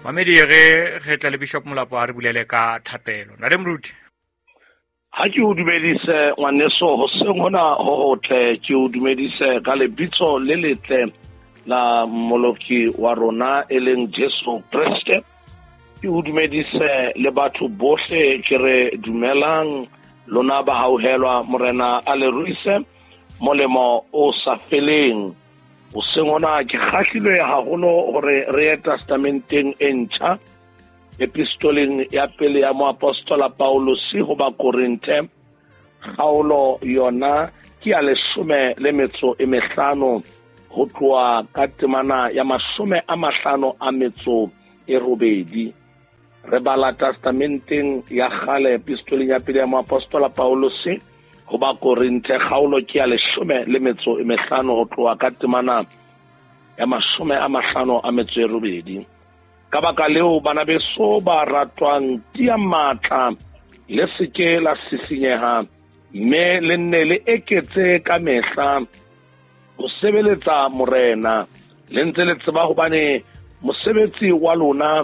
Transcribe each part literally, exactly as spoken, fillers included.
Mamedi re re tla le Bishop Molapo a re bulele ka thapelo. Ntate Moruti. Ha ke o dumedise ngwaneso hoseng hona ho hotle, ke o dumedise ka lebitso le letle la Mmoloki wa rona e leng Jesu Kreste. Ke o dumedise le batho bohle, ke re dumelang lona ba hauhelwa, Morena a le ruise molemo o sa feleng. Hoseng hona ke kgahlilwe haholo hore re ye testamenteng e ntjha, epistoleng ya pele ya moapostola Paulus ho Bakorinthe, kgaolo yona ke ya leshome le metso e mehlano ho tloha ka temana ya mashome a mahlano a metso e robedi. Re bala testamenteng ya kgale, epistoleng ya pele ya moapostola Paulus ho Bakorinthe, kgaolo ke ya leshome le metso e mehlano ho tloha ka temana ya mashome a mahlano a metso e robedi. Ka baka leo, bana beso ba ratwang, tiya matla, le seke la sisinyeha, mme le nne le eketse ka mehla ho sebeletsa Morena, le ntse le tseba hobane mosebetsi wa lona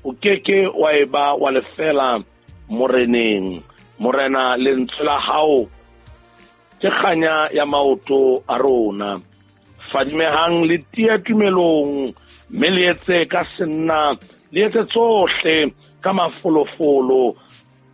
o keke wa eba wa lefela Moreneng. Morena, lentswe la hao ke kganya ya maoto a rona. Fadimehang le tiye tumelong, mme le etse ka senna, le etse tsohle ka mafolofolo,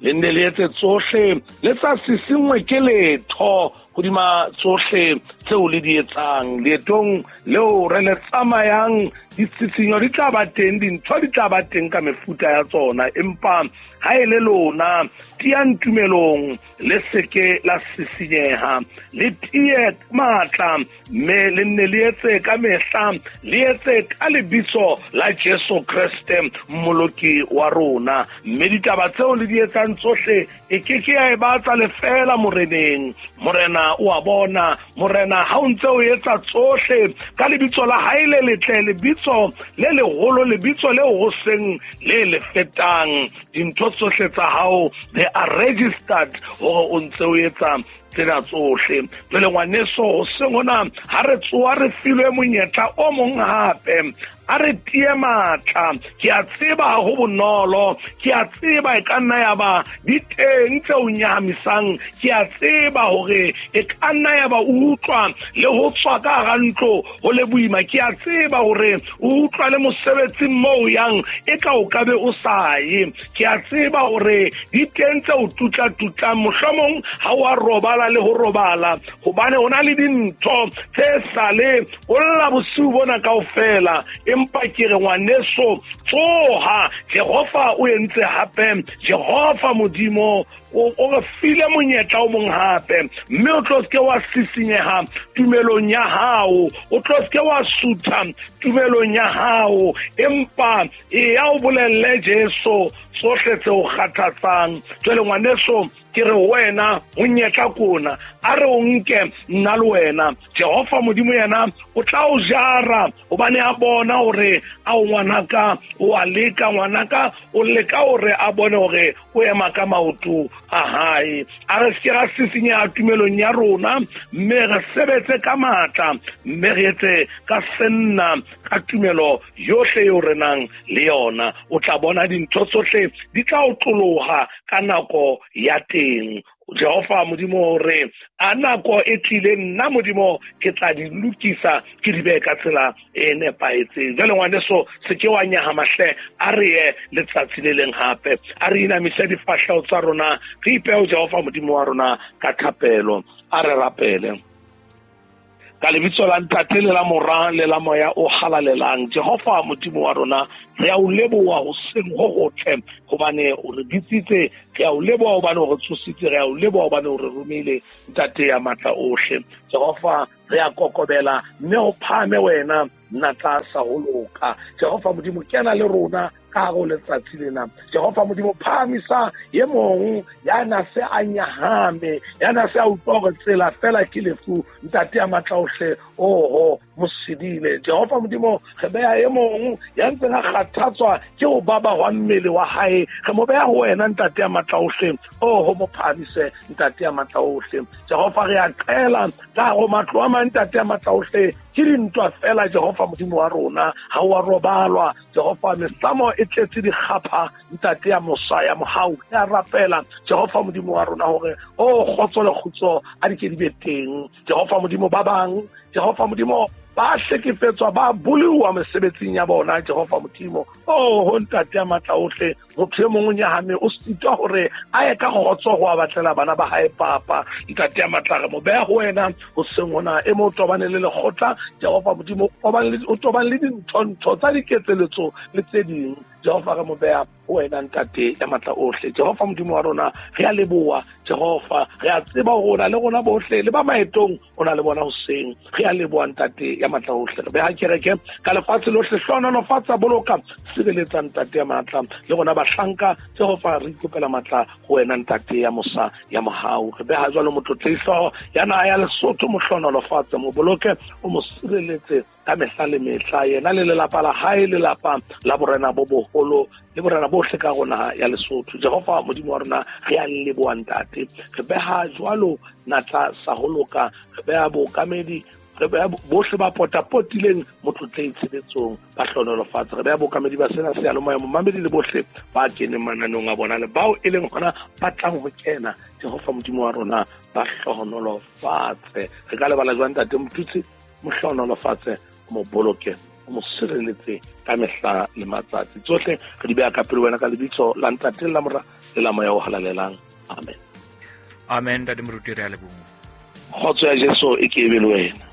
le nne le etse tsohle le sa sisingwe ke letho hodima tsohle tseo le di etsang. Leetong leo re le tsamayang, ditsitsinyo di tla ba teng, dintho di tla ba teng ka mefuta ya tsona, empa ha e le lona, tiyang tumelong, le seke la sisinyeha, le tiye matla, mme le nne le etse ka mehla, le etse ka lebitso la Jesu Kreste Mmoloki wa rona. Mme ditaba tseo le di etsang tsohle e ke ke ya e ba tsa lefela Moreneng. Morena o a bona. Morena ha o ntse o etsa tsohle ka lebitso la hae le letle, lebitso le leholo, lebitso leo ho seng le le fetang, dintho tsohle tsa hao they are registered hore o ntse o etsa tsena tsohle. Jwale ngwaneso, hoseng hona ha re tsoha re filwe monyetla o mong hape, a re tiye matla. Ke a tseba ho bonolo, ke a tseba e ka nna ya ba di teng tse o nyahamisang, ke a tseba hore e ka nna ya ba o utlwa le ho tswa ka hara ntlo ho le boima, ke a tseba hore o utlwa le mosebetsing moo o yang e ka o ka be o sa ye, ke a tseba hore di teng tse o tutla-tutlang, mohlomong ha o a robala le ho robala, hobane ho na le dintho tse sale o lla bosiu bona kaofela. Empa ke re ngwaneso, tsoha, Jehova o entse hape, Jehova Modimo o re file monyetla o mong hape, mme o tlo seke wa sisinyeha tumelong ya hao, o tlo seke wa sutha tumelong ya hao, empa e ya o bolelle Jesu tsohle tse o kgathatsang. Jwale ngwaneso, ke re wena monyetla kona, a re o nke nna le wena. Jehova Modimo yena o tla o jara, hobane a bona hore a o ngwanaka, o a leka ngwanaka, o leka hore a bone hore o ema ka maoto a hae. A re seke ra sisinyeha tumelong ya rona, mme re sebetse ka matla, mme re etse ka senna ka tumelo yohle eo re nang le yona. O tla bona dintho tsohle di tla o tloloha ka nako ya teng. Jehova Modimo hore a nako e tlile, nna Modimo ke tla di lokisa, ke di behe ka tsela e nepahetseng. Jwale ngwaneso, se ke wa nyahama hle, a re ye letsatsi le leng hape, a re inamise difahleho tsa rona, re ipehe ho Jehova Modimo wa rona ka thapelo. A re rapele. Ka lebitso la Ntate le la Mora le la Moya o halalelang, Jehova Modimo wa rona, re a o leboha hoseng ho hotle hobane o re bitsitse, re a o leboha hobane o re tsositse, re a o leboha hobane o re romile, Ntate ya matla ohle. Jehova, re a kokobela mme ho phahame wena nna tlasa ho loka. Jehova Modimo, kena le rona ka hare ho letsatsi lena. Jehova Modimo, phahamisa e mong ya na se a nyahame, ya na se a utlwa hore tsela fela ke lefu, Ntate ya matla ohle, oho mosedile. Jehova Modimo, re beha e mong ya ntseng a kgathatswa ke ho baba hwa mmele wa hae, re mo beha ho wena, Ntate ya matla ohle, oho mo phahamise, Ntate ya matla ohle. Jehova, re a qela ka hare ho matlo a mang, Ntate ya matla ohle, ke Ke dintwa fela Jehova Modimo wa rona, ha wa robalwa Jehova. Mesamo e tletse dikgapha ntate ya mosa ya mohau. Ya rapela Jehova Modimo wa rona hore o kgotso le kgutso a di ke di be teng Jehova Modimo. Ba bang Jehova Modimo ba hlekefetswa, ba boluwa mesebetsing ya bona Jehova Modimo. Oh ho ntate ya matla ohle, motho e mong o nyahame, o sitwa hore a ye ka kgotso ho a batlela bana ba hae papa. Ntate ya matla, re mo beha ho wena hoseng hona. E mo tobane le lekgotla Jehova Modimo, o tobane le dintho-ntho tsa diketseletso le tse ding Jehova, re mo beha ho wena ntate ya matla ohle. Jehova Modimo wa rona, re a leboha Jehova, re a tseba hore o na le rona bohle, le ba maetong o na le bona hoseng. Re a leboha ntate ya matla ohle. Re beha kereke ka lefatshe lohle, hlohonolofatsa, boloka, sireletsa ntate ya matla le rona bahlanka Jehova, re ikopela matla ho wena ntate ya mosa ya mohau. Re beha jwalo motlotlehi hlooho ya naha ya Lesotho, mo hlohonolofatse, mo boloke, o mo sireletse ka mehla le mehla, yena le lelapa la hae, lelapa la borena bo boholo le borena bohle ka rona ya Lesotho. Jehova Modimo wa rona, re a leboha ntate. Re beha jwalo natla sa ho loka, re beha bookamedi, re beha bohle ba potapotileng motlotlehi tshebetsong, ba hlohonolofatse. Re beha bookamedi ba sena seyalemoya, momamedi le bohle ba keneng mananeong a bona le bao e leng hona ba tlang ho kena Jehova Modimo wa rona, ba hlohonolofatse. Re ka lebala jwang ntate Motutsi? Mo hlohonolofatse, mo boloke, mo sireletse ka mehla le matsatsi. Tsohle re di beha ka pele wena ka lebitso la Ntate le la Mora le la Moya o Halalelang. Amen. Amen. Ntate Moruti, re a leboha. Kgotso ya Jesu e ke e be le wena.